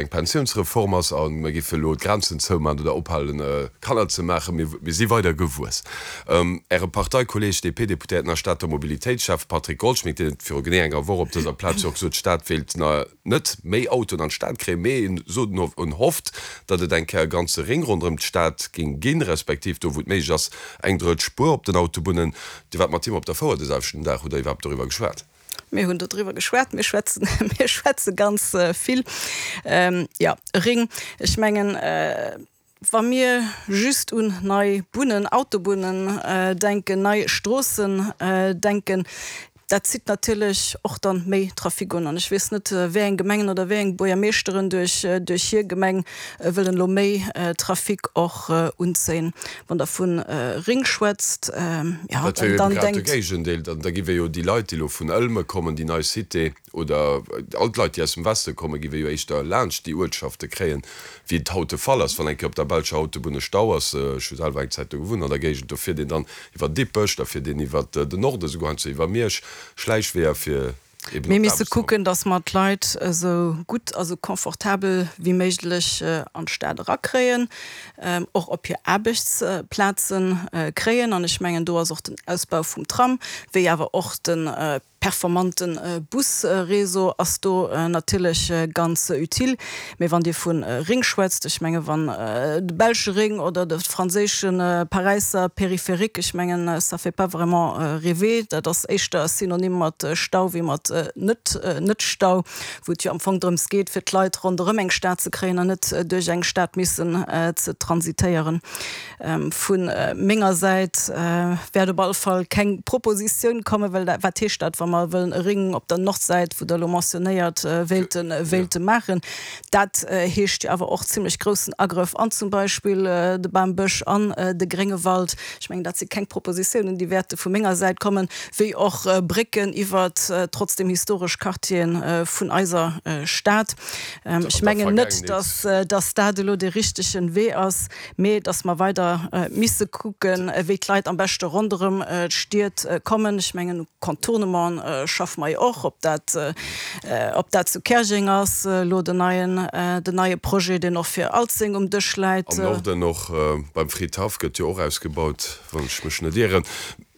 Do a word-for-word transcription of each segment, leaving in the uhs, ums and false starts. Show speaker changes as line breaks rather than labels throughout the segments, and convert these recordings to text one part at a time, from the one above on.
eng Pensiounsreform ass a mir géife elo d'Grenzen zoumaachen oder ophalen, Kanner ze maachen. Mir si weider gewuess. Äre Parteikolleeg, D P-Deputéierten a Stater Mobilitéitsschäffe Patrick Goldschmidt, deen huet viru genee enger Woch op dëser Plaz jo och gesot, d'Stad wéilt net méi Autoen an d'Stad kréien, mee en sot en hofft, datt et eng Kéier e ganze Ring ronderëm d'Stad géing ginn, respektiv do wou et méiglech ass, eng drëtt Spuer op den Autobunnen. Dir waart mat him op der Fouer de selwechten Dag, hutt Der iwwerhaapt doriwwer geschwat?
Mir hunn doriwwer geschwat, mir schwätzen, mir schwätze ganz vill. Jo, e Ring, ech mengen, wa mir just un nei Bunnen, Autobunnen denken, nei Stroossen denken, dat zitt natierlech och dann méi Trafic un. An ech weess net, wéi eng Gemengen oder wéi eng Buergermeeschteren duerch duerch hir Gemeng wëllen elo méi Trafic och unzéien. Wann Der vu Ring schwätzt, jo,
Dat wier jo dann grad de denkt. Géigendeel. Dann da giff ee jo déi Leit, déi elo vun Ëlme kommen, déi nei Cité, oder all d'Leit, déi aus dem Weste kommen, giff ee jo éischter laanscht déi Uertschafte kréien, wéi et haut de Fall ass, wann eng Kéier op der belscher Autobunn e Stau ass. Ech hu selwer eng Zäit do gewunnt an der Géigend, do fiert een dann iwwer Dippech, da fiert een iwwer den Norde souguer heiansdo iwwer Miersch, Schläichweeër, fir eben
Mir
op
misse
d'Aarbecht ze kommen.
kucken, datt mer d'Leit esou gutt a sou confortabel wéi méiglech an d'Stad erakréien, och op hir Aarbechtsplaze kréien. An ech mengen, do ass och den Ausbau vum Tram, wéi awer och de performante Busréseau ass do natierlech ganz utile. Mee wann Dir vu Ring schwätzt, ech menge wann de belsche Ring oder de franséische Paräisser Périphérique, ech mengen, ça fait pas vraiment rêver. Dat ass éischter synonym mat Stau wéi mat net net Stau, wou et jo am Fong drëms geet, fir d'Leit ronderëm eng Stad ze kréien an net duerch eng Stad missen ze transitéieren. Vu menger Säit wäert op alle Fall keng Propositioun kommen, well wat heescht dat, wa mer wëllen e Ring op der Nordsäit, wou Der elo mentionnéiert, wéilte wéilte maachen? Dat heescht jo awer och zimlech groussen Agrëff an zum Beispill de Bambësch an de Gréngewald. Ech mengen, dat si keng Propositiounen, déi wäerte vu menger Säit kommen, wéi och Brécken iwwert trotzdem historesch Quartieren vun eiser Stad.
An
Ech
der
mengen net,
Vergaangenheet.
dass dass dat elo dee richtege Wee ass, mee dass mer weider misse kucken, wéi d'Leit am beschte ronderëm d'Stied kommen. Ech mengen, u Contournement schaffe mer jo och, ob dat ob dat zu Käerjeng ass, elo den neien den neie Projet, deen och fir Alzeng um Dësch läit.
Am Norden och beim Fridhaff gëtt jo och ausgebaut, wann ech mech net ieren.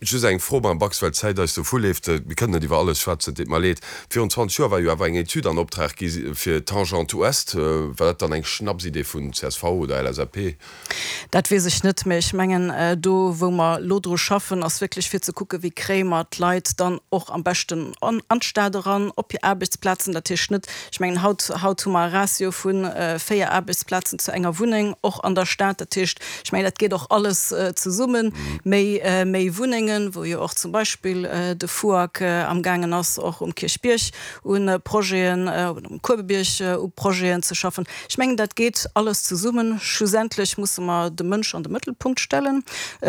Just eng Fro, Madame Bax, well d'Zäit eis dovuleeft. Mir kënnen net iwwer alles schwätzen, et deet mer leed. Virun zwanzeg Joer war jo awer eng Etüd an Optrag gi fir d'Tangente Ouest. War dat dann eng Schnapsidee vun C S V oder L S A P?
Dat weess ech net, mä ech mengen, do wou mer elo dru schaffen, ass wierklech fir ze kucken, wéi kréie mer d'Leit dann och am beschten an d'Stad eran, op hir Aarbechtsplazen. Dat heescht net, ech mengen, haut, haut hu mer e Ratio vu véier Aarbechtsplazen zu enger Wunneng och an der Stad. Dat heescht, ech mengen, dat geet och alles zesummen, méi, méi Wunnengen, wou jo och zum Beispill de FUAK amgaangen ass, och um Kierchbierg u Projeten, oder um Kuebebierg u Projeten ze schaffen. Ech mengen, dat geet alles zesummen. Schlussendlech musse mer de Mënsch an de Mëttelpunkt stellen.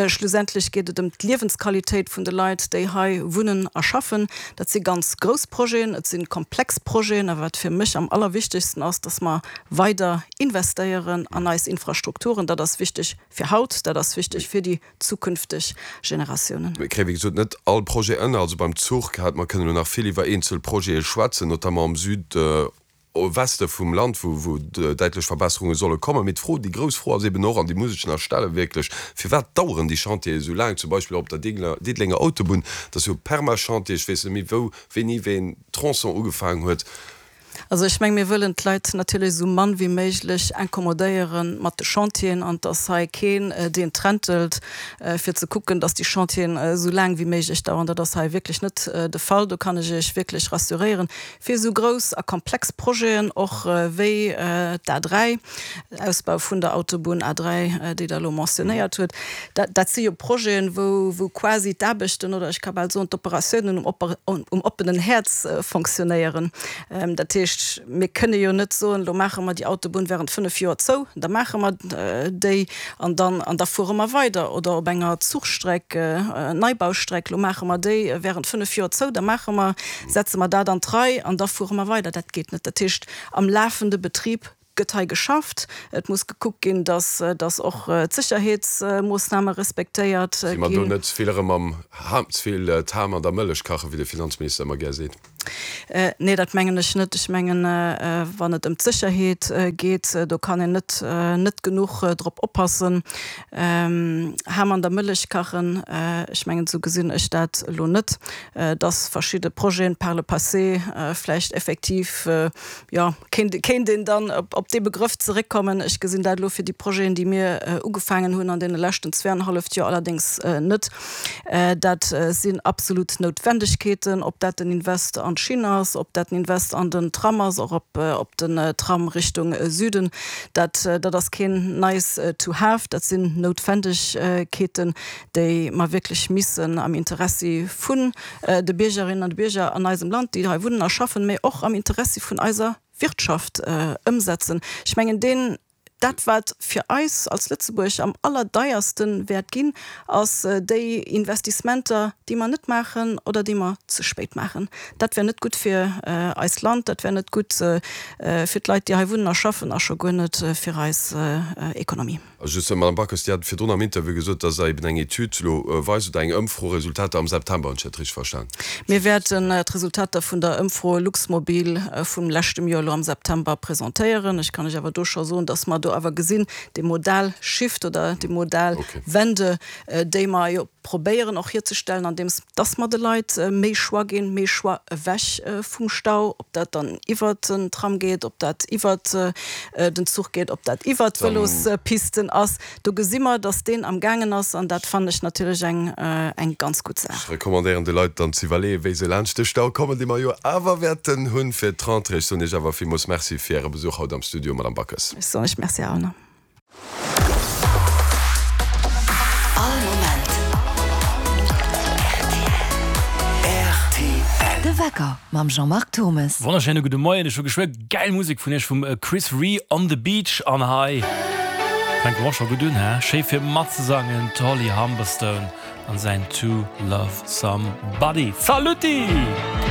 Schlussendlech geet et ëm d'Liewensqualitéit vun de Leit, déi hei wunnen a schaffen. Dat si ganz grouss Projeten, et si komplex Projeten, awer wat fir mech am allerwichtegsten ass, dass mer weider investéieren an eis Infrastrukturen. Dat ass wichteg fir haut, dat ass wichteg fir déi zukünfteg Generatiounen.
Mir kréie wéi gesot net all Projet ënner. Also beim Zuch hat mer kënnen elo nach vill iwwer eenzel Projete schwätzen, notamment am Südweste vum Land, wou wou däitlech Verbesserunge solle kommen. Mee d'Fro, déi grouss Fro ass eben och, an déi muss ech nach stellen, wierklech, Firwat daueren déi Chantiere esou laang, zum Beispill och op der Diddelenger Autobunn? Dat ass jo e Permachantier, ech weess net méi wou, wéini wéi een Tronçon ugefaangen huet.
Also ech menge mir wëllen d'Leit natierlech esou mann wéi méiglech incommodéiere mat de Chantieren an dass hei keen deen trentelt fir ze kucken, dass déi Chantieren esou laang wéi méiglech daueren. Dat ass hei wierklech net de Fall. Do kann ech Iech wierklech rassuréieren. Fir esou grouss a komplex Projeten och wéi d'A dräi, Ausbau vun der Autobunn A dräi, déi Der elo mentionnéiert hutt, dat si jo Projeten, wou wou quasi d'Aarbechten oder ech ka bal soen d'Operatiounen um um oppenen Häerz fonctionnéieren. Dat heescht, mir kënne jo net soen, elo maache mer déi Autobunn während fënnef Joer zou, da maache mer déi an dann an da fuere mer weider. Oder op enger Zuchstreck, Neibaustreck, elo maache mer déi während fënnef Joer zou, da maache mer, setze mer dat an d'Rei an da fuere mer weider. Dat geet net. Dat heescht, am lafende Betrib gëtt hei geschafft. Et muss gekuckt ginn, dass dass och d'Sécherheetsmoossname respektéiert
Si mer do
ginn.
net ze vill erëm am Ham, ze vill d'Ham an der Mëllech kachen, wéi de Finanzminister ëmmer gär seet?
Nee, dat mengen ech net. Ech mengen, wann et ëm d'Sécherheet geet, do kann een net, net genuch drop oppassen. Ham an der Mëllech kachen, ech mengen, esou gesinn ech dat elo net, dass verschidde Projeten par le passé vläicht effektiv, jo, kéint, kéint een dann op dee Begrëff zeréckkommen. Ech gesinn dat elo fir déi Projeten, déi mir ugefaangen hunn an deene leschten zweeanenhalleft Joer allerdéngs net. Dat sinn absolut Noutwendegkeeten, ob dat den Invest an d'Schinn ass, ob dat den Invest an den Tram ass, och op, op den Tram Richtung Süden, dat, dat ass keen nice to have, dat sinn Noutwendegkeeten, déi mer wierklech missen am Interessi vun de Biergerinnen an de Bierger an eisem Land, déi hei wunnen a schaffen, mä och am Interessi vun eiser Wirtschaft ëmsetzen. Ech mengen, deen, dat wat fir eis als Lëtzebuerg am allerdeierste wäert ginn, ass déi Investissementer, déi mer net maachen oder déi mer ze spéit maachen. Dat wär net gutt fir eist Land, dat wär net gutt fir d'Leit, déi hei wunnen a schaffen, a scho guer net fir eis Ekonomie.
A just, Madame Backes, Dir hat virdrun am Interview gesot, dass Der eben eng Etüd elo weist oder eng Ëmfro, Resultater am September, hunn ech dat richteg verstan?
Mir wäerten d'Resultater vun der Ëmfro Luxmobil vum leschtem Joer elo am September presentéieren. Ech kann lech awer do scho soen, dass mer do awer gesinn, dee Modal Shift oder déi Modal Wende, déi mer jo probéieren och hierzestellen, andeems dass mer de Leit méi Choix ginn, méi Choix ewech vum Stau, ob dat dann iwwert den Tram geet, ob dat iwwert den Zuch geet, ob dat iwwert d'Vëlospisten ass. Do gesi mer, dass deen amgaangen ass, an dat fannen ech natierlech eng, eng ganz gutt Saach.
Ech recommandéieren de Leit dann ze iwwerleeën, wéi se laanscht de Stau kommen, dee mer jo awer wäerten hunn fir d'Rentrée. Ech soen Iech awer villmools Merci fir Äre Besuch haut am Studio, Madame Backes.
Ech soen Iech Merci, Här Aulner.
All Moment rtl. De Wecker mam Jean-Marc Thommes.
Wonnerschéine gudde Moien, ech hu geschwë gäil Musek vun iech vum Chris Rea On the Beach an hei fänke mer och scho gutt un, hä? Schéi fir matzesangen, d'Holly Humberstone an säin To Love Somebody. Saluti!